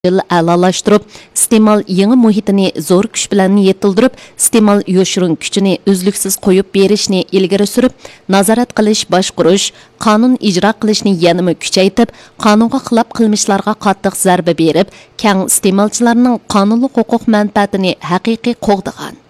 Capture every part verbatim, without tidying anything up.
ئەلالاشتۇرۇپ، ئىستېمال يېڭى مۇھىتىنى زور كۈچ بىلەن يېتىلدۈرۈپ، ئىستېمال يوشۇرۇن كۈچىنى ئۈزلۈكسىز قويۇپ بېرىشنى ئىلگىرى سۈرۈپ، نازارەت قىلىش، باشقۇرۇش، قانۇن ئىجرا قىلىشنى يەنىمۇ كۈچەيتىپ، قانۇنغا خىلاپ قىلمىشلارغا قاتتىق زەربە بېرىپ، كەڭ ئىستېمالچىلارنىڭ قانۇنلۇق ھوقۇق مەنپەئەتىنى ھەقىقىي قوغدىغان.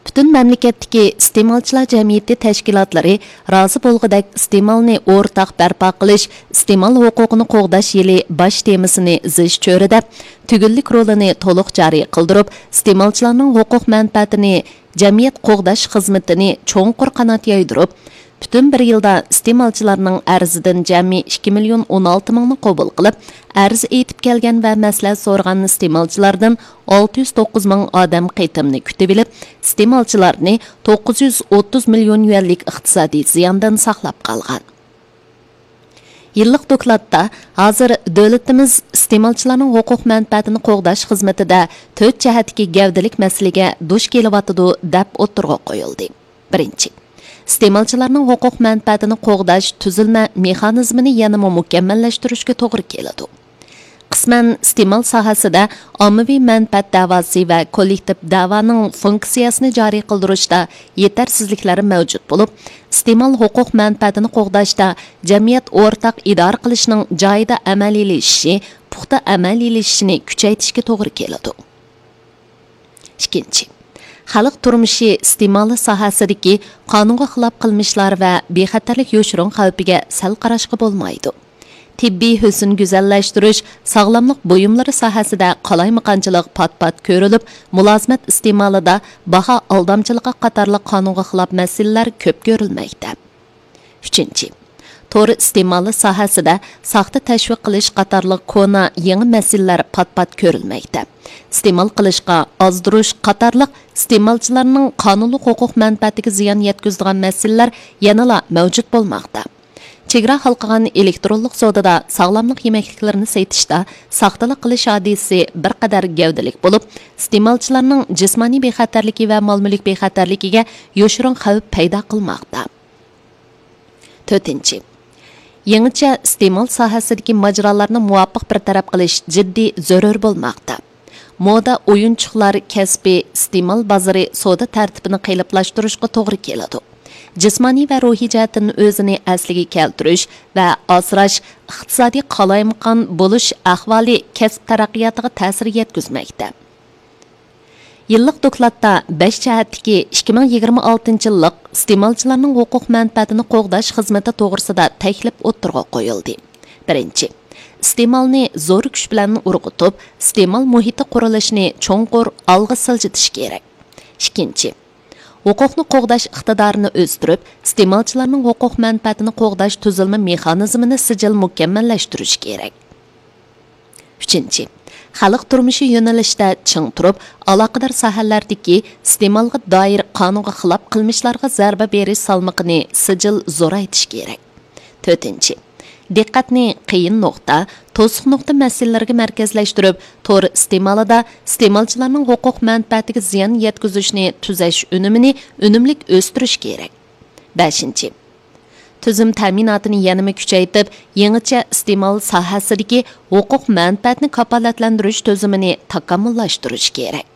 پۈتۈن مەملىكەتتىكى ئىستېمالچىلار جەمئىيىتى تەشكىلاتلىرى رازى بولغۇدەك ئىستېمالنى ئورتاق بەرپا قىلىش، ئىستېمال ھوقۇقىنى قوغداش يىلى باش تېمىسىنى زىچ چۆرىدەپ، تۈگۈنلۈك رولىنى تولۇق جارى قىلدۇرۇپ، ئىستېمالچىلارنىڭ ھوقۇق مەنپەئەتىنى، جەمئىيەت قوغداش خىزمىتىنى چوڭقۇر قانات يايدۇرۇپ، پۈتۈن بىر يىلدا ئىستېمالچىلارنىڭ ئەرزىدىن جەمئىي ئىككى مىليون ئون ئالتە مىڭنى قوبۇل قىلىپ، ئەرز ئېيتىپ كەلگەن ۋە مەسلىھەت سورىغان ئىستېمالچىلاردىن ئالتە يۈز توققۇز مىڭ ئادەم قېتىمنى كۈتۈۋېلىپ، ئىستېمالچىلارنى توققۇز يۈز ئوتتۇز مىليون يۈەنلىك ئىقتىسادىي زىياندىن ساقلاپ قالغان. يىللىق دوكلاتتا ھازىر دۆلىتىمىز ئىستېمالچىلارنىڭ ھوقۇق مەنپەئەتىنى قوغداش خىزمىتىدە تۆت جەھەتتىكى گەۋدىلىك مەسىلىگە دۇچ كېلىۋاتىدۇ، دەپ ئوتتۇرىغا قويۇلدى. بىرىنچى، ئىستېمالچىلارنىڭ ھوقۇق مەنپەئەتىنى قوغداش تۈزۈلمە مېخانىزمىنى يەنىمۇ مۇكەممەللەشتۈرۈشكە توغرا كېلىدۇ. قىسمەن ئىستېمال ساھەسىدە ئاممىۋى مەنپەئەت دەۋاسى ۋە كوللېكتىپ دەۋانىڭ فۇنكسىيەسىنى جارى قىلدۇرۇشتا يېتەرسىزلىكلەر مەۋجۇت بولۇپ، ئىستېمال ھوقۇق مەنپەئەتىنى قوغداشتا جەمئىيەت ئورتاق ئىدارە قىلىشنىڭ جايىدا ئەمەلىيلىشىشى، پۇختا ئەمەلىيلىشىشىنى كۈچەيتىشكە توغرا كېلىدۇ. ئىككىنچى، خەلق تۇرمۇشى ئىستېمالى ساھەسىدىكى قانۇنغا خىلاپ قىلمىشلار ۋە بىخەتەرلىك يوشۇرۇن خەۋپىگە سەل قاراشقا بولمايدۇ. تېببىي ھۆسن گۈزەللەشتۈرۈش، ساغلاملىق بۇيۇملىرى ساھەسىدە قالايمىقانچىلىق پات-پات كۆرۈلۈپ، مۇلازىمەت ئىستېمالىدا باھا ئالدامچىلىقى قاتارلىق قانۇنغا خىلاپ مەسىلىلەر كۆپ كۆرۈلمەكتە. ئۈچىنچى، تور ئىستېمالى ساھەسىدە ساختا تەشۋىق قىلىش قاتارلىق كونا، يېڭى مەسىلىلەر پات-پات كۆرۈلمەكتە. ئىستېمال قىلىشقا ئازدۇرۇش قاتارلىق ئىستېمالچىلارنىڭ قانۇنلۇق ھوقۇق مەنپەئەتىگە زىيان يەتكۈزىدىغان مەسىلىلەر يەنىلا مەۋجۇت بولماقتا. چېگرا ھالقىغان ئېلېكترونلۇق سودىدا ساغلاملىق يېمەكلىكلىرىنى سېتىشتا ساختىلىق قىلىش ھادىسىسى بىر قەدەر گەۋدىلىك بولۇپ، ئىستېمالچىلارنىڭ جىسمانىي بىخەتەرلىكى ۋە مال-مۈلۈك بىخەتەرلىكىگە يوشۇرۇن خەۋپ پەيدا قىلماقتا. تۆتىنچى، يېڭىچە ئىستېمال ساھەسىدىكى ماجىرالارنى مۇۋاپىق بىر تەرەپ قىلىش جىددىي زۆرۈر بولماقتا. مودا ئويۇنچۇقلار كەسپى ئىستېمال بازىرى سودا تەرتىپىنى قېلىپلاشتۇرۇشقا توغرا كېلىدۇ. جىسمانىي ۋە روھىي جەھەتتىن ئۆزىنى ئەسلىگە كەلتۈرۈش ۋە ئاسراش ئىقتىسادىي قالايمىقان بولۇش ئەھۋالى كەسىپ تەرەققىياتىغا تەسىر يەتكۈزمەكتە. يىللىق دوكلاتتا بەش جەھەتتىكى ئىككى مىڭ يىگىرمە ئالتىنچى يىللىق ئىستېمالچىلارنىڭ ھوقۇق مەنپەئەتىنى قوغداش خىزمىتى توغرىسىدا تەكلىپ ئوتتۇرىغا قويۇلدى. بىرىنچى، ئىستېمالنى زور كۈچ بىلەن ئۇرغۇتۇپ، ئىستېمال مۇھىتى قۇرۇلۇشىنى چوڭقۇر ئالغا سىلجىتىش كېرەك. ئىككىنچى، ھوقۇقنى قوغداش ئىقتىدارىنى ئۆستۈرۈپ، ئىستېمالچىلارنىڭ ھوقۇق مەنپەئەتىنى قوغداش تۈزۈلمە مېخانىزمىنى سىجىل مۇكەممەللەشتۈرۈش كېرەك. ئۈچىنچى، خەلق تۇرمۇشى يۆنىلىشىدە چىڭ تۇرۇپ، ئالاقىدار ساھەلەردىكى ئىستېمالغا دائىر قانۇنغا خىلاپ قىلمىشلارغا زەربە بېرىش سالمىقىنى سىجىل زورايتىش كېرەك. تۆتىنچى، دىققەتنى قىيىن نۇقتا، توسۇق نۇقتا مەسىلىلىرىگە مەركەزلەشتۈرۈپ، تور ئىستېمالىدا ئىستېمالچىلارنىڭ ھوقۇق مەنپەئەتىگە زىيان يەتكۈزۈشنى تۈزەش ئۈنۈمىنى ئۈنۈملۈك ئۆستۈرۈش كېرەك. بەشىنچى، تۈزۈم تەمىناتىنى يەنىمۇ كۈچەيتىپ، يېڭىچە ئىستېمال ساھەسىدىكى ھوقۇق مەنپەئەتنى كاپالەتلەندۈرۈش تۈزۈمىنى تاكامۇللاشتۇرۇش كېرەك.